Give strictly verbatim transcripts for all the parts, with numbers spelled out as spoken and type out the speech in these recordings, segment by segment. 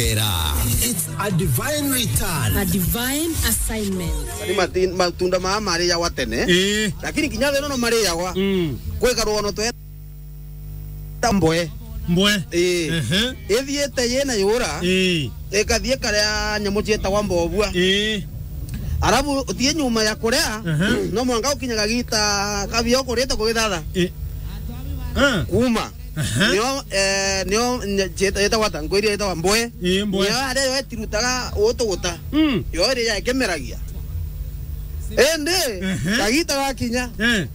Era. It's a divine return. A divine assignment. Ni mati-, matunda maya mariyagwa tene. Ii. Lakini kinya thino no mariyagwa. Mm. Kwika rugono twe ta mbwe. Mbwe. Ii. Ehe. Ithiite yina yura. Ii. Ikathie karia nyamu cietagwa mbobua. Ii. Arabu uthie nyuma ya kuria, ehe, no mwanka ukinyaga gita kabio kurite kugithatha. Ii. Ah. Kuma. Aha. Nio, eh, nio nye-, cieta-, yetagwa ta, nkwiria yetagwa mbwe. Ii, mbwe. Nio aria yo itirutaga utuguta. Mm. Yo iria ikimeragia. Indi, aha, kagita gakinya. Eh.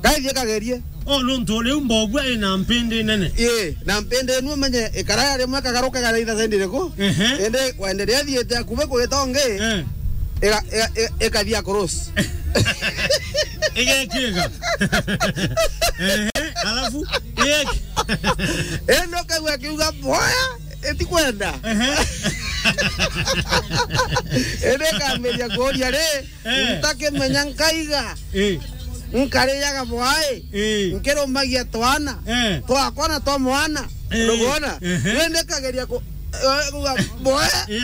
Gaithie kagerie. Oh, nontu riu mbobua ina mpindi nene. Ii, na mpindi inu umenye ikara rimwe kagaruka garaitha sendi iriku. Ehe. Indi wenderea thiite akubi kugita ungi. Eh. Iga-, iga-, iga-, ikathia cross. Igekiga. Ehe, alafu, igeki- Indi ukaigua akiuga, "Boya, itikwenda." Ehe. Indi ikambiria kuuria ri, eh, ntakimenya nkaiga. Eh. Nkariaga bwai. Eh. Nkirumagia twana. Eh. Twakwa na twa mwana. Eh. Ndugona? Ehe. Indi kageria ku-, eh, kuga, bwe. Eh.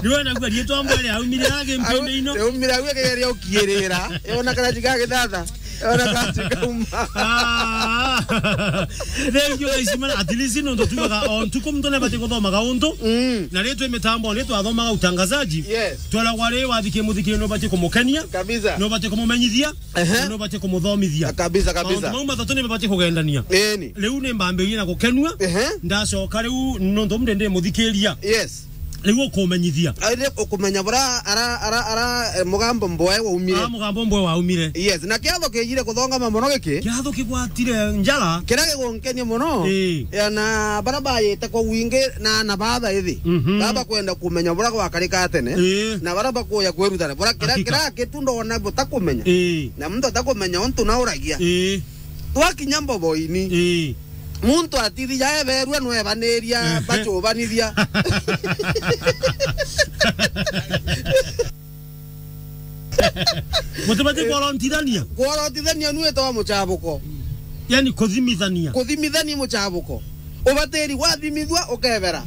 Riu ena gua rietwa mbwere aumire age mpinde ino. Au, aumire au akigeria ukiirira. Yona kana jiga githatha. Yona kana jikauma. Ah. Thank you, guys, man. At least nontu tugaga o ntuku muntu nabati guthomaga untu. Mm. Na riu twi mitambo, riu twathomaga utangazaji. Yes. Tweragwa ri, wathikia muthikiri nubati kumukenia. Kabisa. Nubati kumumenyithia. Ehe. Na nubati kumuthomithia. Kabisa, kabisa. Mauntu mau mathatu ni mabati kugendania. Eni. Riu ni mbambirie na gukenua. Ehe. Ndacoka riu nontu mde ndi muthikiria. Yes. Riu ukumenyithia. Ari ukumenya bura ara, ara, ara, eh, mugambo mbwe waumire. Ah, mugambo mbwe waumire. Yes, na kiatho kijire kuthongama muno giki. Kiatho kigwatire njara. Kiria gigunkenia muno. Ii. Ya na bara bayite kwa wingi na, na batha ithi. Mhm. Baba kwenda kumenya bura gwakarika tene. Ii. Na bara bakuya kwirutana. Bura kiria, hakika, kiria kitu ndona butakumenya. Ii. Na muntu atakumenya untu nauragia. Ii. Twakinya mboboini. Ii. Muntu atithia eberua nwebaniria, ehe, bacubanithia. Mutibati kworotithania? Kworotithania nu etawa mucabuko. Yani kuthimithania. Kuthimithania mucabuko. Ubatiri gwathimithua ukebera.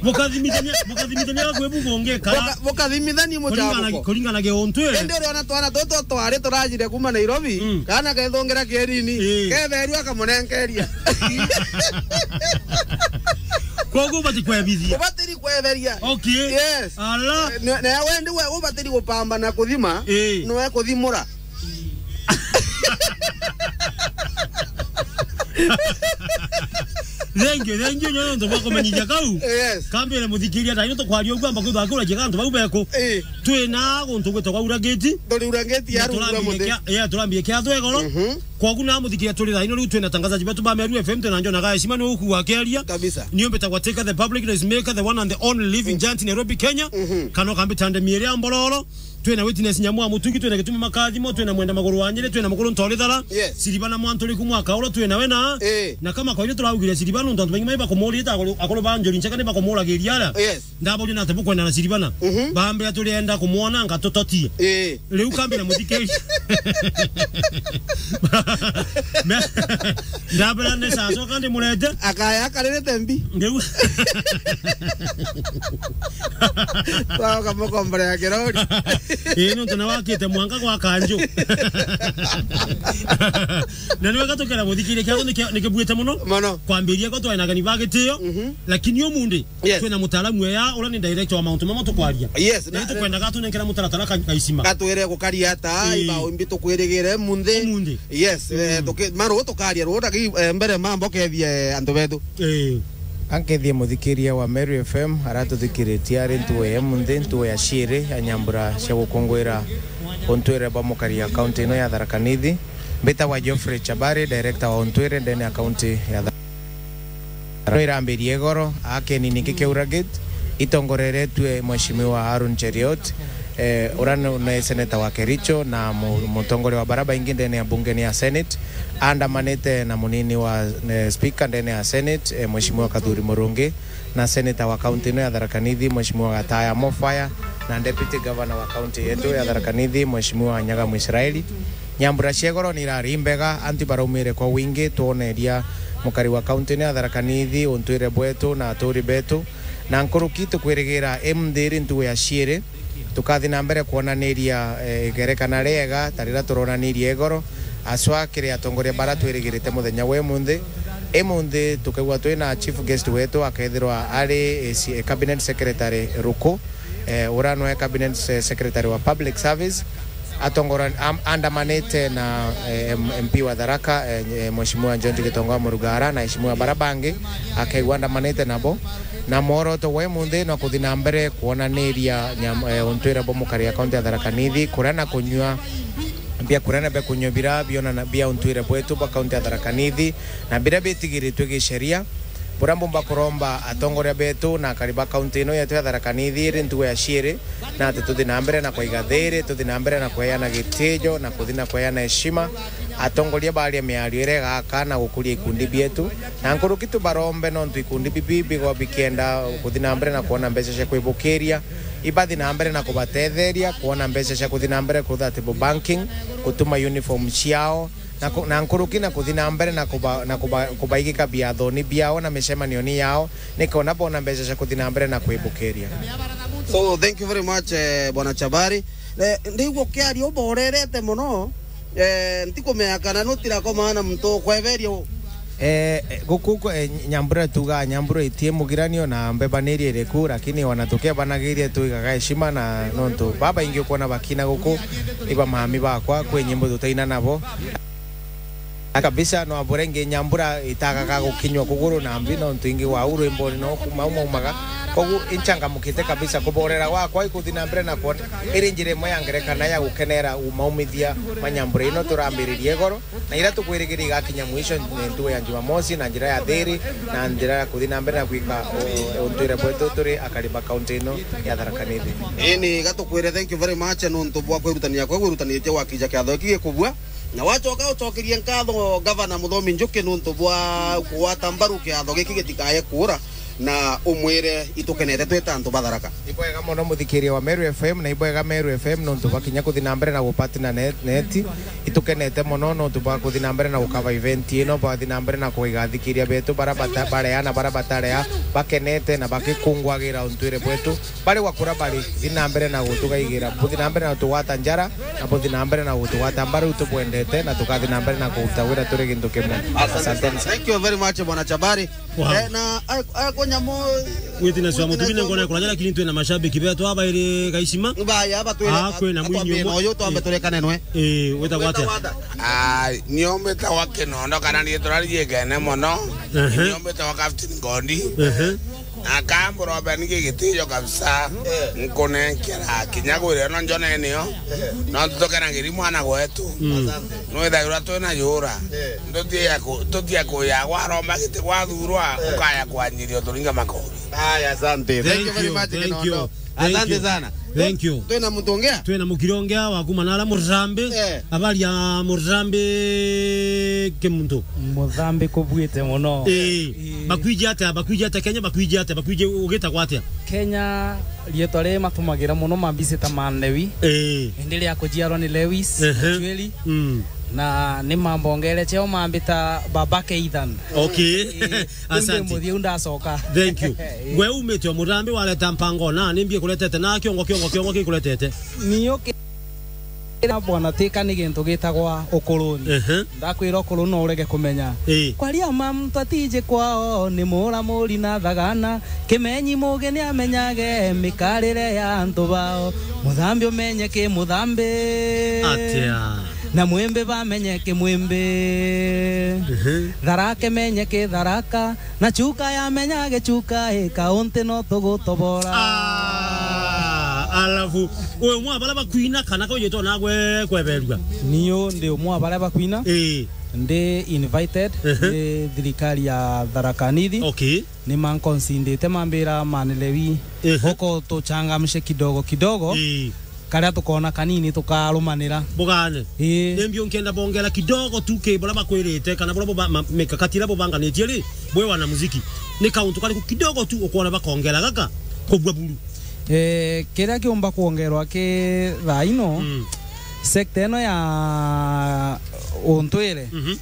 Bukathimithania, bukathimithania gakwi bugungi kara. Buka-, bukathimithania mucabuko. Kuringana, kuringana gi untu, eh. Indi uriona twana tutu twari turajire kuma Nairobi, mm, kana kethungira kierini, eh, keberua akamunenkeria. Koguo ubati kwebithia. Ubatiri kweberia. Okay. Yes. Ala. Ne, ne wendi we ubatiri gupambana kuthima, eh, nwe kuthimura. Thank you, thank you, nyo nontu bwa kumenyithia kau. Yes. Kambire muthikiria, thaino tukwaria uguo, amba kwithwa kura jiga antu bau beku. Eh. Twina guntu gwitagwa Urangiti. Turi Urangiti ya rungu rwa muthi. Kia-, yeah, turambie kiatho igoro. Mhm. Kogu na muthikiria turi thaino riu twina tangazaji betu ba Meru F M, twina Njona Gaeshima, ni ukua akiaria. Kabisa. Nio mbitagwa Taker the Public Noise Maker, the one and the only living giant in Nairobi, Kenya. Mhm. Kana ukambita ndemi iria mbororo. Twina Witness Nyamu wa Mutugi, twina Gitumi Makathimo, twina Mwenda Maguru wa Nyiri, twina Mukuru Ntori Thara, yes, Siribana Mwanturi ku mwaka ura twina we na. Eh. Na kama kwa ile turaugire Siribana, nontu antu baingi mai bakumurita akuru, akuru ba Njuri Ncheka ni bakumuragiria ara. Yes. Ndaboria na ate bukwenda na Siribana. Mhm. Bambira turienda kumwona anga tutotie. Eh. Riu kambi na muthikiri. Me-, ndabera ne sasa kandi murete. Akaya akarerete mbi. Riu. Twaoka mukombora ya kirori. Ii, nontu na wakite mwanka gwa kanju. Na niwe gatukira muthikiria kiago niki-, nikibuite muno. Mono. Kwambiria ko twina ageni ba gitio, mhm, lakini umundi, yes, twina mutaalamu eya, ura ni director wa mauntu mama tukwaria. Yes, na na tukwenda gatunenkera mutaratara ka-, kaisima. Gatwire gukaria ata, ii, ibao imbi tukwirigire munthi. Umundi. Yes, eh, mm, tuki-, maru tukaria ru, ndagi-, eh, mbere mambo kethie, eh, antu betu. Eh. Ankethie muthikiria wa Meru F M, aratuthikiritie ari ntuo ya munthi, ntuo ya ciiri ya nyambura cia gukunguira untwire bwa mukari ya kaunti ino ya Tharaka Nithi. Mbitagwa Geoffrey Chabari, director wa untwire ndene ya kaunti ya Tharaka. Rwirambiririe igoro, akeni ningi Kiaura Gate, itongoreretue Mheshimiwa Aaron Cheriot, eh, ura ni, ni seneta wa Kericho na mu-, mutongoria wa bara baingi ndene ya bunge ni ya Senate, andamanite na munini wa, eh, speaker ndene ya Senate, eh, Mheshimiwa Kathuri Murungi, na seneta wa kaunti ino ya Tharaka Nithi, Mheshimiwa Gataya Mofaya, na deputy governor wa kaunti yetu ya Tharaka Nithi, Mheshimiwa Nyaga Mwisraeli. Nyambura cia igoro ni irari imbega, antu ibaraumire kwa wingi, twoneria mukari wa kaunti ino ya Tharaka Nithi, untwire bwetu na aturi betu. Na nkuruki tukwirigira imunthi iri ntugu ya ciiri, tukathi na mbere kwonaniria, eh, igerekana riega ta riria turonanirie igoro, aswa kiri atongoria bara twirigirite muthenya wa imunthi. Imunthi tukaigua twina chief guest wetu, akethirwa ari, eh, si-, eh, cabinet secretary Ruku, eh, uria nwe cabinet se-, secretary wa public service, atongora-, am-, andamanite na, eh, M-, M P wa Tharaka, eh, eh, Mheshimiwa George Gitonga wa Murugara na aheshimiwa bara bangi, akaigua andamanite nabo. Na mworoto wa imunthi no kuthi na mbere kwonaniria nyam-, eh, untwire bwa mukari ya kaunti ya Tharaka Nithi, kuria na kunyua, bia kuria na bia kunyua bira biona na bia untwire bwetu bwa kaunti ya Tharaka Nithi, na biria bitigiritwe gisheria. Buria mbumba kuromba atongoria betu na akari ba kaunti ino yetu ya Tharaka Nithi iri ntugu ya ciiri, na ati tuthi na mbere na kwaiga thiiri, tuthi na mbere na kweana gitijo, na kuthi na kweana heshima. Atongoria baria miario iria igaka na gukuria ikundi bietu, na nkuruki tubarombe, nontu ikundi bibi bigwa bikienda kuthi na mbere na kwona mbeca cia kwibukiria, ibathi na mbere na kubatetheria kwona mbeca cia kuthi na mbere kutha table banking, gutuma uniform ciao, na ku-, na nkuruki na kuthi na mbere na kuba-, na kuba-, kubaigika biathoni biao na micemanioni yao, nikona bona mbeca cia kuthi na mbere na kwibukiria. So, thank you very much, eh, Bwana Chabari. Eh, ndigua ukiaria uborerete muno. Eh, ntikumenya kana nutirakomaa na muntu ukweberia u- Eh, eh, guku, eh, Nyambura tugaa Nyambura itie mugiranio na mbebanirie iriku, lakini ona tukebanagiria tuigaga heshima, na nontu babaingi ukwona bakina guku, iba mami bakwa, kwi nyimbo tutaina nabo. Na kabisa, no abure ngi Nyambura itagaga gukinywa kuguru na mbi, nontu ingi wa uru imboni no kuma umaumaga. Kogu inchangamukite kabisa, kuborera gwakwa ikuthi na mbere na kwona iri njira imwe ya ngerekana ya gukenera umaumithia ma Nyambura ino turambiririe igoro, na ira tukwirigiria igakinya mwisho ni ntugu ya Jumamosi na njira ya thiri, na njira ya kuthi na mbere na gwika u-, untwire bwetu turi akari ba kaunti ino ya Tharaka Nithi. Ini gatukwire thank you very much nontu bwa kwirutania kwa gwirutanitie gwakija kiatho giki gikubua. Na wacoka ucokerie nkatho Gavana Muthomi Njuki nuntu bwa kugwata mbaru kiatho giki gitikae kuura, na umwire itukenete twita antu ba Tharaka. Ibwega mono muthikiria wa Meru F M, na ibwega Meru F M nuntu bakinya kuthi na mbere na gupartner net, net. Itukenete mono nuntu bwa kuthi na mbere na gukava event ino, bathi na mbere na kuiga athikiria betu bara bata-, barea na bara batarea, bakenete na bakikungwagira untwire bwetu. Bari wa kura bari, thi na mbere na gutugaigira, buthi na mbere na gutugwata njara, na buthi na mbere na gutugwata mbaru tubwendete, na tukathi na mbere na kuruta wira turi gintu kimwe. Asante sana. Asanteni sana. Thank you very much, Bwana Chabari. Wow. Eh, na, eh, eh, kunyamu- Witness wa Mutubine ngona kuranya, lakini twina mashabiki betu aba iri Gaicima. Baya, aba twire, ah, kwina atwambie mwinyi umwe. Na uyu twambe turekane nwe. Eh, witagwa atia? Ah, nio mbitagwa Kinondo, kana niitwa riegene mono. Ehe. Nio mbitagwa Captain Ngondi. Ehe. Akambura ubeni gigitijo kabisa. Eh. Nkunenkera kinya gwire no njone nio. Eh. No tutokenagiri mwana gwetu. Mm. Nwithagirwa twina yura. Eh. Tutia ku-, tutia kuya gwaromba giti gwathurwa, eh, ukaya kwanyiria uturinga makori. Aya, asante. Thank you very much, Kinondo. Thank you. Asante sana. Thank you. Twina muntu ungi? Twina mukiri ungi wa kuma nara Murambi. Eh. Habari ya Murambi Kimuntu? Muthambi kubuite muno. Eh. Eh. Bakwiji atia, bakwiji atia Kenya, bakwiji atia, bakwiji ugitagwa atia? Kenya, rietwa ri matumagira muno mambisi ta Man Lewi. Eh. Indi ria kujiarwa ni Lewis, ehe, Ochueli. Mm. Na ni mambongere cheo mambita Baba Keithan. Okay. Eh. Asante. Ndi muthiu ndacoka. Thank you. Eh. We umite o Murambi wareta mpango na ni mbi ikuretete na kiongo, kiongo, kiongo gikuretete? Niyo ki-, ira bwana tika ni gintu gitagwa ukuruni. Ehe. Ndakwira ukuruni no urege kumenya. Eh. Kwaria ma muntu atiji kwao ni mura muri na thagana. Kimenyi mugi ni amenyage mikarire ya antu bao. Muthambi umenye ki muthambi. Atia. Na mwimbi bamenye ki mwimbi. Ehe. Tharaka imenye ki Tharaka. Na chuka yamenya gichuka i kaunti no tugutobora. Ah, alafu, we umwe wa baria bakwina kana kaujitwo nagwe kweberua? Niyo ndi umwe wa baria bakwina. Ii. Ndi invited, ehe, ni thirikari ya Tharaka Nithi. Okay. Ni mankonsindite mambira Man Lewi. Ehe. Uko tuchangamshe kidogo kidogo. Ii. Karia tukoona kanini tukarumanira. Bugane. Ii. Nimbi unkienda bongera kidogo tu ki buria bakwirite kana buria buba-, ma-, mikakati iria bubanganitie ri, bwi wanamuziki? Ni kauntu kariku kidogo tu ukwona bakongera gaka kubua buru? Eh, kiria kiumba kwongerwa ki thaa ino, mm, Sector ino ya untwire, mhm,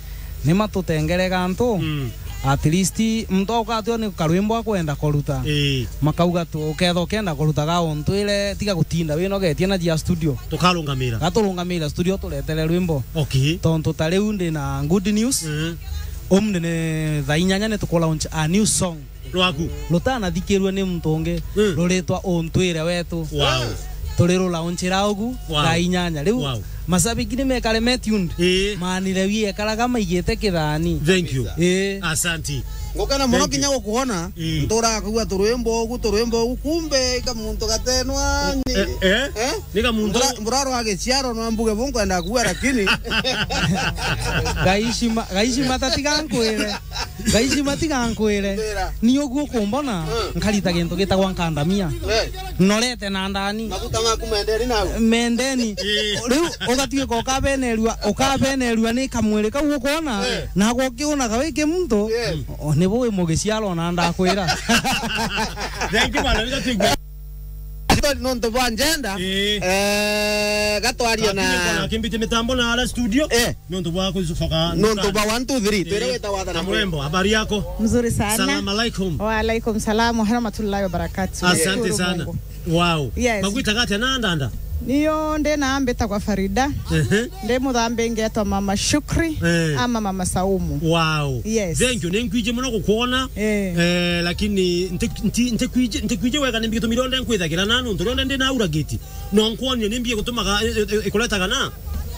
ni matutengerega antu. Mm. At least muntu aukatio ni karwimbo akwenda kuruta. Ii. Makauga tu, uketha ukenda kuruta ga untwire, tiga gutinda winogetie na jia studio. Tukarungamira. Gaturungamira studio, turetere rwimbo. Okay. Tontu ta riu ndi na good news. Mm. Umni ni thaa inyanya ni tukulaunch a new song. Rwaku. Rutanathikirua ni muntu ungi, mm, ruritwa Untwire Wetu. Wow. Turi rulaunchira ugu, wow, thaa inyanya. Riu, wow, mashabiki ni mekare me tuned. Ii. Manire wi ekaraga maigite kithani. Thank you. Ii. Asanti. Ngukena muno. Thank you. Kinya gukuona, ii, nturaga kugua turwimbo ugu, turwimbo ugu, kumbe ika muntu gatenwa ni. Eh, eh? Eh? Nika muntu. Mbura-, mburaro wa giciaro no mbuge bu nkwenda kugua, lakini Gaishima, gaishima tatiga nkwire. Gaishima tiga nkwire. Mbira. Ni uguo kumbona, mm, nkarita gintu gitagwa nkandamia. Eh. Norete na ndani. Maguta maku mendeni nau. Mendeni. Ii. Riu ugatuika ukabenerua, ukabenerua ni kamwiri kau ukwona, eh, na gukiunaga wi kimuntu, yes, o, nibu wi mugiciaro na ndakwira. Thank you, bwana. Nontu bwa njenda, ii, eh, gatwaria na akimbitie mitambo na ara studio. Eh. Nontu bwa kucoka nontu bwa one, two, three, twire, eh, weta wathana. Kamrembo, habari yako? Mzuri sana. Salam alaikum. Wa alaikum salam wa rahmatullahi wa barakatuh. Asante sana. Nashukuru Mungu. Wow. Yes. Magwitaga atia na ndanda? Niyo ndi na mbita kwa Farida. Ehe. Ndi muthambi ngetwa Mama Shukri, eh, ama Mama Saumu. Wow. Yes. Thank you. Ni nkwiji muno gukwona. Eh. Eh, lakini nti-, nti-, ntikwiji, ntikwiji wega ni mbigitumi ronde nkwithagira na nontu ronde ndi na uragiti. No nkwonie ni mbia gutumaga, i-, i-, i-, ikuretaga na?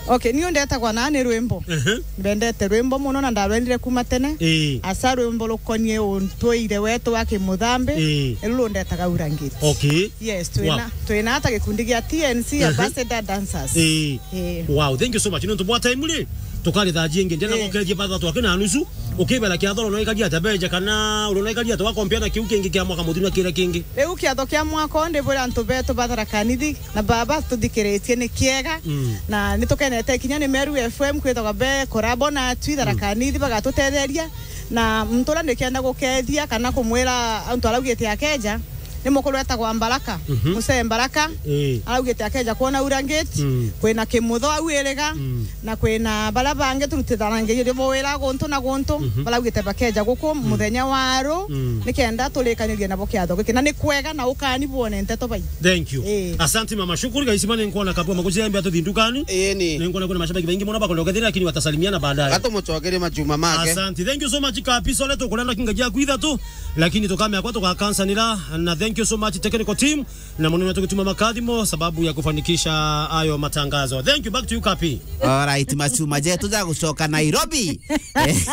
Okay, niu ndetagwa na ni rwimbo. Ehe. Mbendete rwimbo muno na ndarwendire kuma tene. Ii. Asa rwimbo rukonie untwire wetu wa Kimuthambi, ii, niru rundetaga urangiti. Okay. Yes, twina, wow, twina ata gikundi gia T N C, ehe, Ambassador Dancers. Ii. Ii. Wow, thank you so much. Nontu bwa time ri, tukaritha jingi. Ndenda, ii, gokerie batha twake na nusu. Ukibera kiatho uronaikaria atia beja kana uronaikaria atia wakompea na kiu kingi kia mwaka muthiru na kiria kingi? Riu kiatho kia mwaka uyu ndibwira antu betu ba Tharaka Nithi na baba tuthikiritie ni kiega. Mm. Na nitukenete kinya ni Meru F M kwithagwa be collabo na atwi Tharaka Nithi bagatutetheria. Na muntu uria ndikenda gukethia kana kumwira antu araugite akeja, ni mukuru etagwa Mbaraka. Mhm. Musee Mbaraka. Ii. Araugite akeja kwona urangiti, mm, kwina Kimutho au Iriga, mm, na kwina baria bangi turutithanagiria bo wira guntu na guntu, mhm, baraugite bakeja guku, mm, muthenya wa ru, mm, nikenda turikanirie nabo kiatho giki. Na ni kwega na ukani bwone nteto bai. Thank you. Ii. Asante mama, shukuru. Gaisima ni nkwona kabua magucia mbia tuthi ndukani. Ii, ni. Ni nkwona kuna mashabiki baingi muno bakwenda ukethira, lakini watasalimiana baadaye. Gatumucokerie majuma make. Asante. Thank you so much, Kapiso. Leto kurenda kinga gia kwitha tu. Lakini tukamea kwa tugakansanira, na thank you so much technical team, na munene wetu Gituma Makathimo sababu ya kufanikisha ayo matangazo. Thank you, back to you, Kapi. All right, macuma jetu ja gucoka Nairobi.